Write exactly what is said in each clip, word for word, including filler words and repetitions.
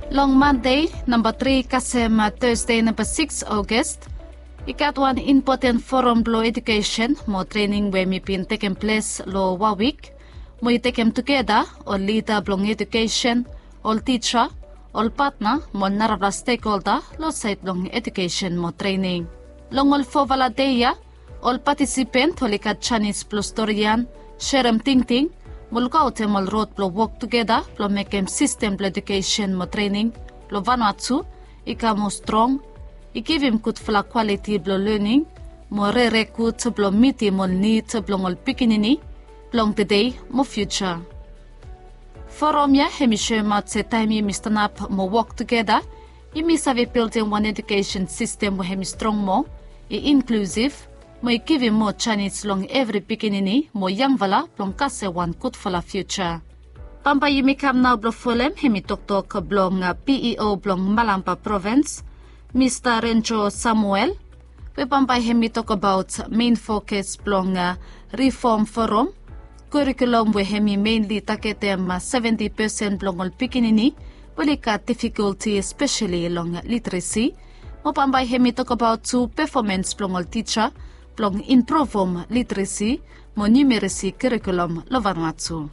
Long Mande namba tri kasem Tasde namba sikis August, i gat wan impoten foram blong edukesen mo trening we hemi bin tekem ples long wan wik, mo i tekem tugeta ol lida blong edukesen, ol tija, ol patna mo ol narafala stekholda long saed blong edukesen mo trening. Long ol fofala dei ya, ol patisipen oli gat janis blong storian, serem tingting mo lukaotem ol rod blong wok tugeta blong mekem sistem blong edukesen mo trening long Vanuatu i kam moa strong, i givim gudfala kwaliti blong lening mo rere gud blong mitim ol nid blong ol pikinini blong tede mo fiuja. Foram ya hemi soemaot se taem yumi stanap mo wok tugeta, yumi save bildim wan edukesen sistem we hemi strong moa, i inklusiv mo i givim moa janis long evri pikinini mo yangfala blong kasem wan gudfala fiuja. Bambae yumi kam nao blong folem hemi toktok blong P E O blong Malampa Provins, Mista Renjo Samuel, we bambae hemi tokbaot mein fokas blong Reform Foram, kurikulum we hemi meinli tagetem seventi pesen blong ol pikinini we oli gat difikolti espeseli long literesi, mo bambae hemi tokbaot tu pefomans blong ol tija blong impruvum literesi mo niumeresi kurikulum long Vanuatu.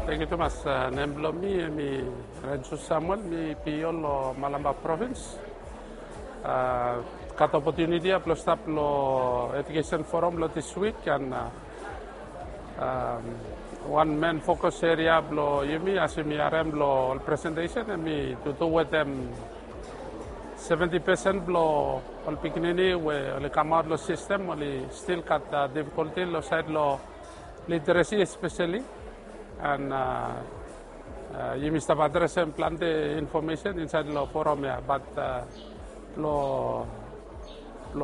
Tangkiu tumas. Nem blong mi hemi Renjo Samuel, mi P E O long Malampa Provins. Gat opotuniti ya blong stap long edukesen foram blong dis wik, and wan mein fokas eria blong yumi, as yumi harem long ol presentesen, hemi tutu wetem seventi pesen blong ol pikinini we oli kamaot long sistem oli stil gat difikolti long saed long literesi espeseli. And yumi stap adresem plante infomesen insaed long foram ya, bat blong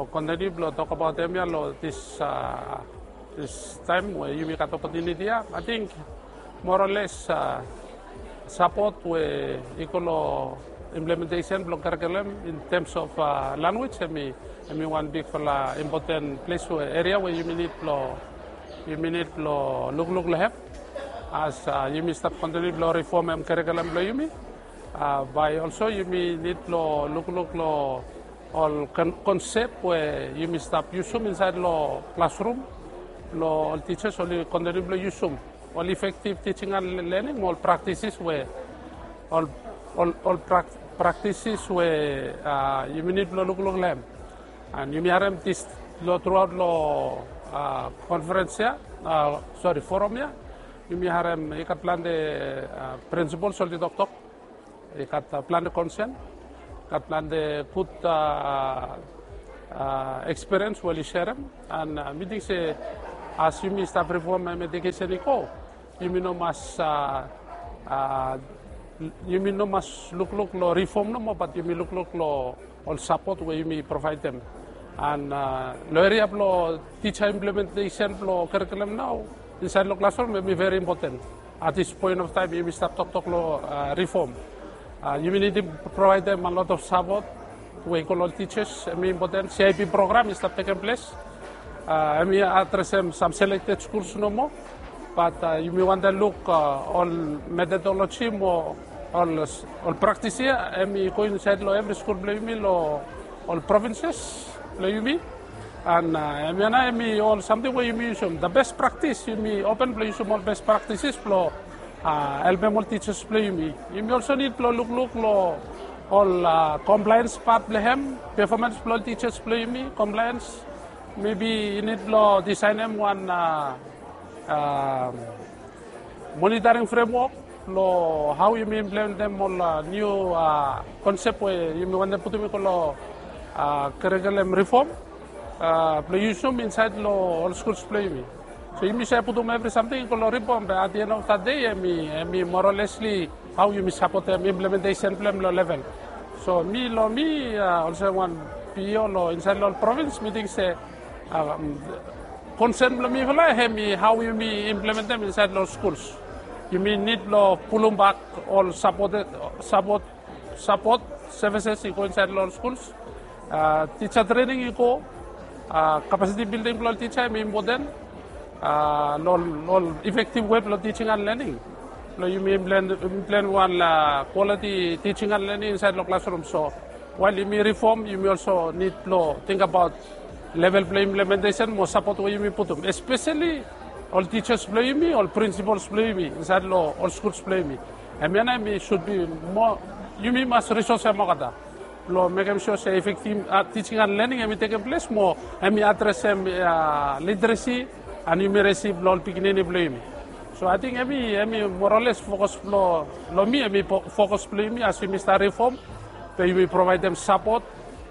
kontiniu blong tokbaot hemia long dis taem we yumi gat opotuniti ya, ating moa o les sapot we i go long implementesen blong kurikulum in tems of lanwis, hemi wan bigfala impoten ples we eria we yumi nid blong yumi nid blong lukluk long hem. As yumi stap kontiniu blong rifomem kurikulum blong yumi, bae olso yumi nid blong lukluk long ol konsep we yumi stap yusum insaed long klasrum blong ol tijas oli kontiniu blong yusum ol efektiv tijing and lening mo ol praktisis we ol praktisis we yumi nid blong lukluk long hem. And yumi harem dis long truaot long konferens ya, sori, foram ya, yumi harem i gat plante prinsipols oli toktok, i gat plante konsen, gat plante gud ekspiriens we oli serem. And mi ting se as yumi stap rifomem edukesen i go, yumi no mas yumi no mas lukluk long rifom nomo, bat yumi lukluk long ol sapot we yumi provaedem. And long eria blong tija implementesen blong kurikulum nao insaed long klasrum, hemi veri impoten. At dis poen of taem yumi stap toktok long rifom, yumi nidim provaedem a lot of sapot we i go long ol tijas. Hemi impoten. C I P program i stap tekem ples, hemi adresem sam selekted skuls nomo, bat yumi wantem luk ol metodoloji mo ol praktis ya hemi go insaed long evri skul blong yumi long ol provinses blong yumi. And hemia nao hemi ol samting we yumi yusum, the best praktis, yumi open blong yusum ol best praktisis blong helpem ol tijas blong yumi. Yumi olso nid blong lukluk long ol komplaens pat blong hem, pefomans blong ol tijas blong yumi, komplaens. Mebi i nid blong disaenem wan monitoring fremwok long hao yumi implementem ol niu konsep we yumi wantem putum i go long kurikulum rifom blong yusum insaed long ol skuls blong yumi. So yumi save putum evri samting i go long rifom, be at the end of the day hemi moa o lesli hao yumi sapotem implementesen blong hem long level. So mi long mi olsem wan P E O long insaed long ol provins, mi ting se konsen blong mifala hemi hao yumi implementem insaed long ol skuls. Yumi nid blong pulumbak ol sapot, sapot, sapot sevises i go insaed long ol skuls. Tija trening i go, Kapasiti bilding blong ol tisa hemi impoten long ol efektiv wei blong teaching and learning. Blong yumi implement wan kwaliti teaching and learning insaed long klasrum. So wael yumi rifom, yumi olso nid blong tingbaot level blong implementesen mo sapot we yumi putum, espeseli ol tisas blong yumi, ol prinsipols blong yumi insaed long ol skuls blong yumi. Hemia nao hemi sud bi moa, yumi mas risosem olgeta blong mekem sua se efektiv teaching and learning hemi tekem ples mo hemi adresem literesi and numeresi blong ol pikinini blong yumi. So ating hemi, hemi moa o les fokas blong, long mi hemi fokas blong yumi as yumi stap rifom, be yumi provaedem sapot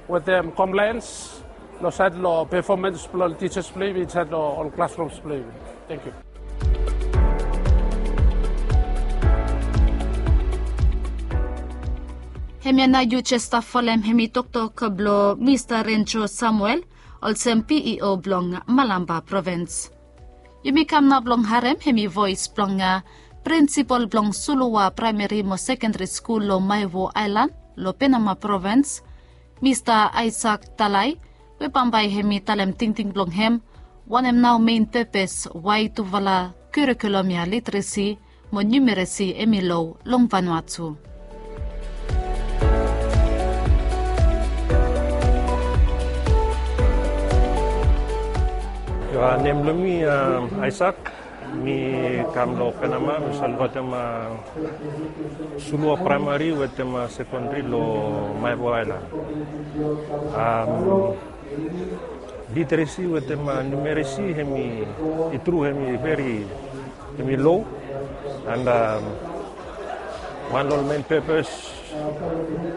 wetem komplaens long saed long pefomans blong ol tisas blong yumi insaed long ol klasrums blong yumi. Tangkiu. Hemia nao yu jes stap folem hemi toktok blong Mista Renjo Samuel olsem P E O blong Malampa provins. Yumi kam nao blong harem hemi voes blong prinsipol blong Suluwa Praemari mo Sekendari Skul long Maewo Aelan long Penama provins, Mista Aisak Talai, we bambae hemi talem tingting blong hem wanem nao mein pepes wae tufala kurikulum ya literesi mo numeresi hemi lo long Vanuatu. Yu a, nem blong mi Aisak. Mi kam long Penama, mi save lukaotem Suluwa Praemari wetem Sekendari long Maewo Aelan. Literesi wetem numeresi hemi, i tru hemi veri, hemi lo. And wan long ol mein pepes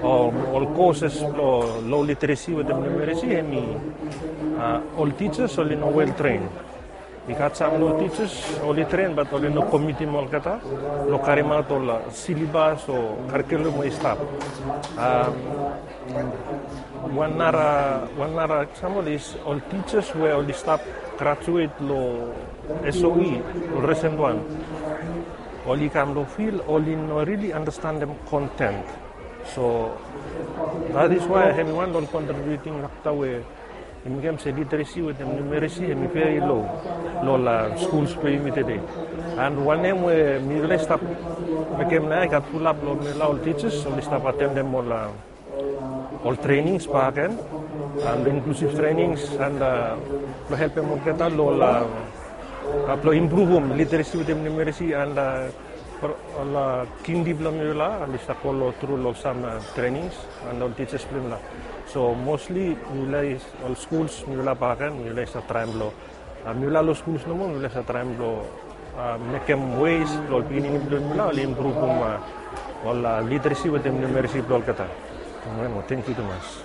o ol koses blong lo literesi wetem numeresi hemi ol tisas oli no wel tren. I gat sam long tisas oli tren bat oli no komitim olgeta long karimaot ol silabas o karikulum we i stap. Wan nara, wan nara eksampol is ol tisas we oli stap grajuet long S O E, ol risen wan, oli kam long fil, oli no rili andastanem konten. So that is why hemi wan long ol kontribiuting fakta we i mekem se literesi wetem numeresi hemi veri lo long ol skuls blong yumi tede. And wanem we mifala i stap mekem nao ya, i gat fulap long mifala ol tisas oli stap atendem ol ol trenings bakegen, inklusiv trenings, and blong helpem olgeta long, blong impruvum literesi wetem numeresi, and ol kindi blong mifala oli stap go tru long sam trenings, and ol tisas blong mifala. So mostli mifala, ol skuls mifala bakegen mifala i stap traem blong mifala long skuls nomo mifala i save traem blong mekem wes blong ol pikinini blong mifala oli impruvum ol literesi wetem numeresi blong olgeta. Tangkiu tumas.